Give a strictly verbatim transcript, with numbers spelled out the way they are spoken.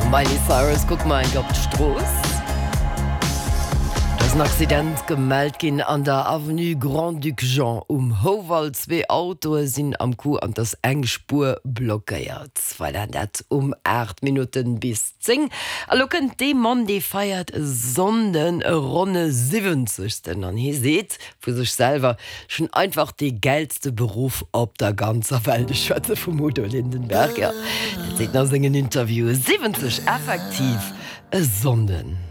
Miley Cyrus kucke mer eng op d'Strooss. Do ass en Accident gemellt ginn an der Avenue Grand-Duc Jean um Houwald. Zwee Autoe sinn am Coup an et ass eng Spuer blockéiert. Voilà, dat um aacht Minutten bis zéng. A lo kënnt dee Mann, dee feiert e Sonnden e ronne siwwenzegsten an hie seet vu sech selwer, Ech hunn einfach dee gäilste Beruff op der ganzer Welt. Ech schwätze vum Udo Lindenberg, jo, dat seet en a sengen Interviewen. Siwwenzeg, effektiv, e Sonnden.